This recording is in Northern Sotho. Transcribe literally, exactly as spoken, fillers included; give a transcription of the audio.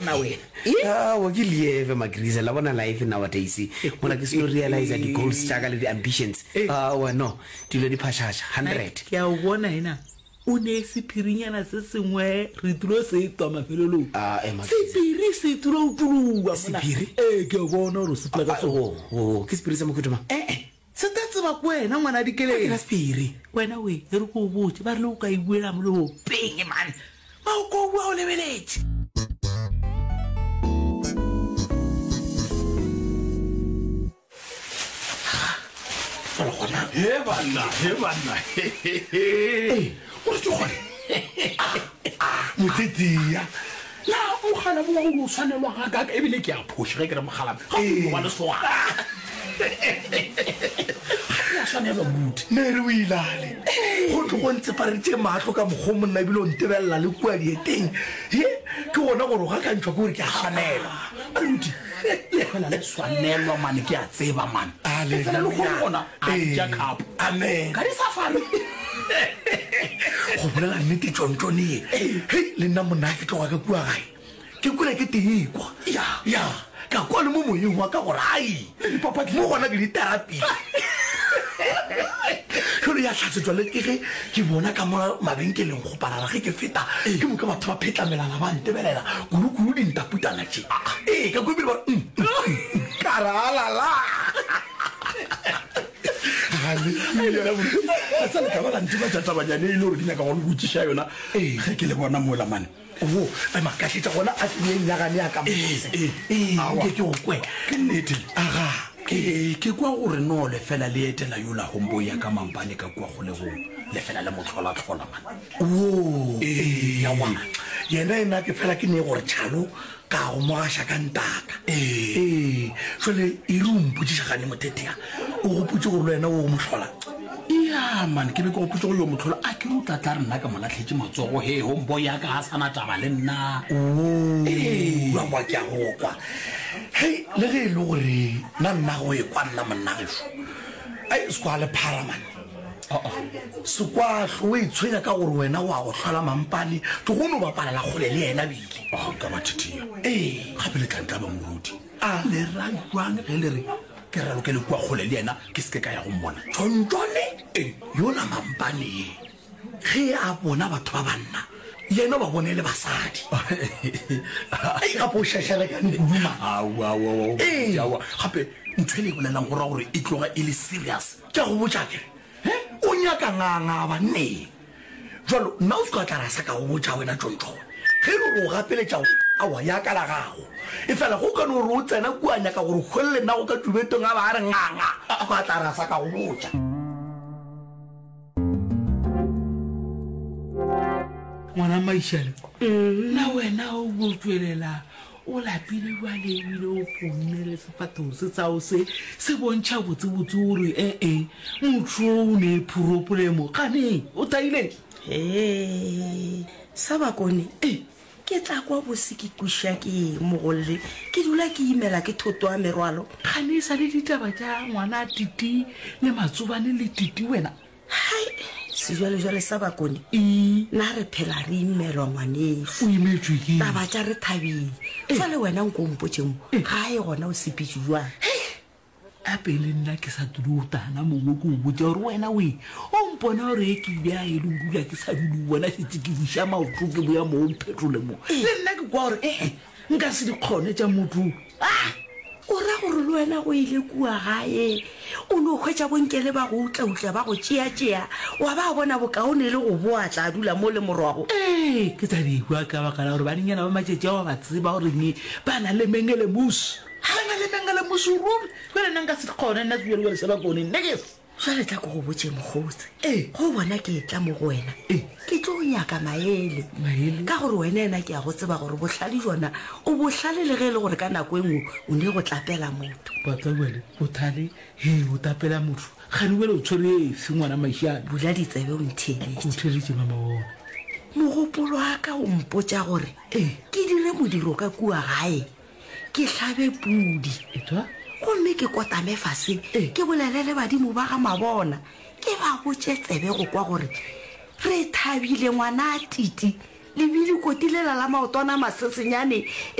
monna wena. Aowa ke lieve Magriza la bona life nowadays mola ke seno realize di goals tša ka le di ambitions. Aowa no dilo di phašaša hundred. Ke a o bona ena o ne sephirinyana se sengwe re tlilo se twa mafelelong. Ah, eh, Magriza. Sephiri se tlilo utuluwa mona. Sephiri? Ee ke a bona gore o sepela ka Ah, sona. oh, oh, ke sephiri sa mohuta mang? Eh eh se tla tseba ke wena ngwana Ga ke Dikeledi. na sephiri. Wena we e re ko o botše ba rile o ka e buela mo leopeng mane. Ba o ko bua o lebeletše. He banna, he banna, he he he. O re ke gone. Motetia. Na mogala bo wa o tshwanelwa ga ka ebile ke a phoša ge ke re mogala. Ga o wa lesogana. Ga ya swanelwa moruti. Ne re o ilale. Go tlo go ntsepareditše mahlo ka mokgwa monna ebile o ntebelela le kua dieteng. He, ke gona gore o gakantšhwa ke gore ke a swanelwa. Moruti, le fela le swanelwa mane ke a tseba mane. E fela le kgone gona a ja cup. Amen. Ka di safari. Go bolela nnete tšontšone ye. Hei, le nna monna ke tloga ka kua gae. Ke kwele ke tekwa. Ya. Ya. Ka kwa le mo moyeng wa ka gore ai. Mo gona ke di-therapy. Jalo ya hlatsetswa le ke ge ke bona ka mo mabenkeleng go parara ge ke feta ke moka batho ba phetlamelana ba ntebelela kudu-kudu dintaputana tše. Ee, ka kwa ebile ba re mm, mm, mm, mm, ka re alala. Haleluya. Sa le ka ba la ntebatša tabanyane e le gore ke nyaka go le botšiša yona ge ke le bona mola mane. Wo, ema ka šetša gona a ke nyagane ya ka mose. Ee, Ee, aowa. nke ke go kwe. Ke nnete. Aga. Ee, ke kwa gore no lefela le etela yola homeboy ya ka mampane ka kua kgolegong. Lefela le mo tlhola-tlhola man. Wo, ee, aowa. Yena ena ke fela ke ne gore tšhalo ka go mo gaša ka ntaka. Ee. Ee, jwale e re o mpotšiša gane mothetea, o gopotše gore le wena o mo hlola? Ya man, ke be ke gopotše go yo mo hlola. A ke re o tla tla re nna ka mo lahletše matsogo he homeboy ya ka ga sana taba le nna. Wo, Ee. aowa ke a go kwa. Hei, le ge e le gore nna nna go e kwa nna monna gešo. Ai, se kwa le phara man. Se kwa hlo o e tshwenya ka gore wena wa go hlola mampane, ke go no bapalela kgole le yena bile. Oh, ka ba thethea. Ee. Gape le tla ntla ba moruti. Ah. Le ra jwang ge le re ke raloke le kua kgole le yena ke se ke ka ya go mmona? Tšontšone Ee. yola mampane ye ge a bona batho ba banna yena o ba bone le basadi. Ai gape o šašarekane kudu man. Aowa, aowa, aowa, Ee. aowa. Gape ntho e le e bolelang go ra gore e tloga e le serious. Ke a go botša ke re, he, o nyaka nganga banneng. Jwalo nna o se ka tla ra sa ka go botša wena tšontšone. Ge e le gore o gapeletša gore aowa ya ka la gago. E fela go ka no gore o tsena kua nyaka gore hwelele nna go ka tšubetong a ba a re nganga, a ba tla ra sa ka go botša. Ngwana Maišane, na wena o bo tšwelela o lapile bjale ebile o ponne le sefahlego se sao se se bontšha botsebotse gore ee motho o ne phropolemo gane o taileng. Hee, sa bakone Ee. ke tla kwa bose ke kweša ke eng mogolle ke dula ke imela ke thoto a merwalo. Gane e sa le ditaba tša ngwana Titi le matsobane le Titi wena. Hai, sejwalejwale sa bakone Ee. na re phela re imelwa ngwaneso. O imetšwe ke eng? Taba tša re thabile. Jwale wena nko mpotše mo gae gona o sepetše jwang? Gape le nna ke sa tulo o tana mongwe ke o botša gore wena we o mpona gore e ke ile a e le dula ke sa dule o bona šetse ke buša maoto ke boya mo o mphetole mo. Le nna ke kwa gore ee nka se di kgone tša motho. Ah, o ra gore le wena go ile kua gae o no hwetša bonkele ba go utlautla ba go tšeatšea wa ba bona bokaone le go boa tla dula mo le morwago. Ee, ke tla di kwa ka baka la gore banenyana ba matšatši ao ba tseba gore ne ba na le mengele musi. Ba na le mengele musi ruri. Jwale nna nka se di kgone nna sejwalejwale sa bakone nna ke se. Jwale tla ko go botše mokgotse. Ee. Go bona ke e tla mo go wena. Ee. Ke tlo nyaka maele. Maele? Ka gore wena ena ke a go tseba gore bohlale jona o bohlale le ge e le gore ka nako e nngwe o ne go tlapela motho. Batla jwale bothale he o tapela motho. Gane jwale o tshwere efe ngwana Maišane? Bula ditsebe o ntheeletše. O theeletše mama bona. Mogopolo wa ka o mpotša gore Ee. ke dire modiro ka kua gae. Ke hlabe pudi. Etwa? Gomme ke kotame fase, Ee. ke bolele le badimo ba ga mabona. Ke ba botše tsebe go kwa gore re thabile ngwana a Titi. Lebile koti lela la maotwana a masesenyane e